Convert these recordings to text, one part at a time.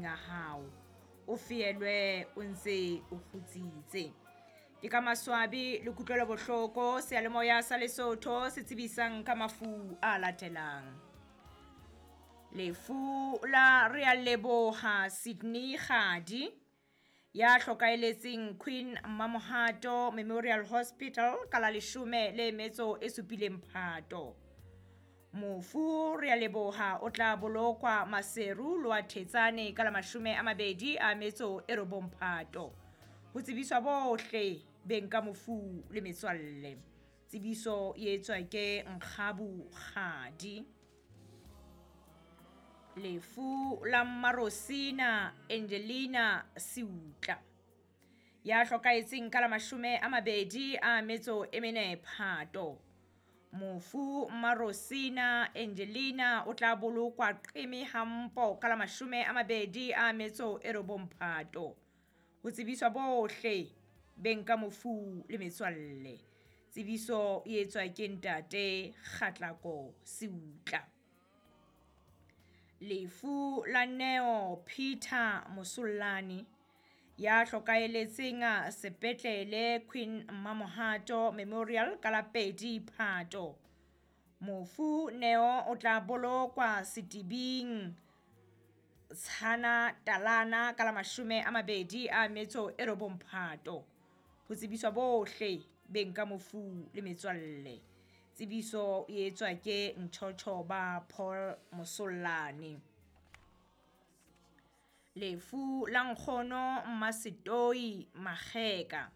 a hao. O feelwe o ntse o kgutsitse. Ke ka maswabi le kutlwelo bohloko seyalemoya sa Lesotho se tsebisang ka mafu a latelang. Lefu la Realeboha Sydney Kgadi ya hlokaeletseng Queen Mamohato Memorial Hospital ka la 17 Phato. Mofu Realeboha o tla bolokwa Maseru Loathetsane ka la 29 Phato. Ho tsebiswa bohle beng ka mofu le metswalle. Tsebiso e etswa ke Nkgabu Kgadi. Lefu la Mmarosina Angelina Seutla ya hlokahetseng ka la 24 Phato. Mofu Mmarosina Angelina o tla bolokwa Qeme Hampo ka la 29 Phato. Ho tsebiswa bohle beng ka mofu le metswalle. Tsebiso e etswa ke ntate Kgatlako Seutla. Lefu la Neo Peter Mosollane ya hlokaeletseng sepetlele Queen Mamohato Memorial ka la 2 Phato. Mofu Neo o tla bolokwa Setibing Tshana Talana ka la 29 Phato. Ho tsebiswa bohle beng ka mofu le metswalle. Tsebiso e etswa ke Ntjhotjho ba Paul Mosollane. Lefu la nkgono Mmasetoi Makgeka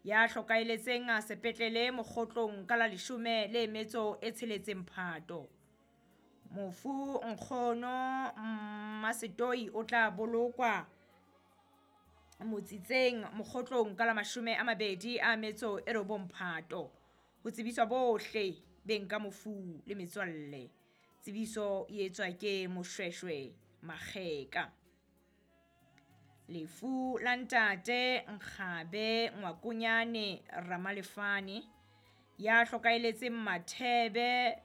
ya hlokaeletseng sepetlele Mokgotlong ka la 16 Phato. Mofu nkgono Mmasetoi o tla bolokwa Motsitseng Mokgotlong ka la 29 Phato. Ho tsebiswa bohle beng ka mofu le metswalle. Tsebiso e etswa ke Moshweshwe Makgeka. Lefu la ntate Nkgabe Ngwakonyane Ramalefane ya hlokaeletseng Mathebe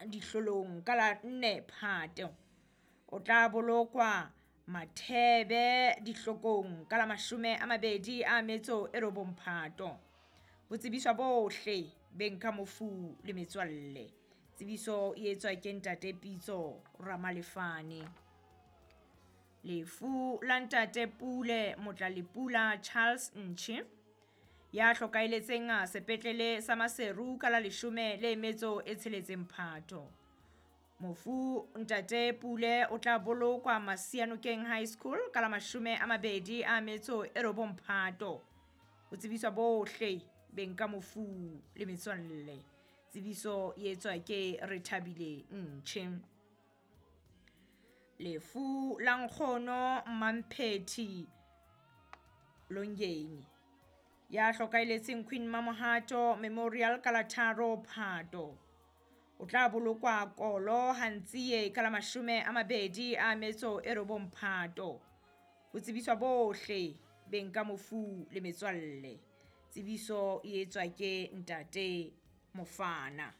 dihlolong ka la 4 Phato. O tla bolokwa Mathebe dihlokong ka la 29 Phato. Ho tsebiswa bohle beng ka mofu le metswalle. Tsebiso e etswa ke ntate Pitso Ramalefane. Lefu la ntate Pule Motlalepula Charles Ntshi ya hlokaeletseng sepetlele sa Maseru ka la 16 Phato. Mofu ntate Pule o tla bolokwa Masianokeng High School ka la 29 Phato. Ho tsebiswa bohle beng ka mofu le metswalle. Tsebiso e etswa ke Rethabile Ntshi. Lefu la nkgono Mamphethi Longeni ya hlokaeletseng Queen Mamohato Memorial ka la 3 Phato. O tla bolokwa Kolo Hantsie ka la 29 Phato. Ho tsebiswa bohle beng ka mofu le metswalle. Tsebiso e etswa ke ntate Mofana.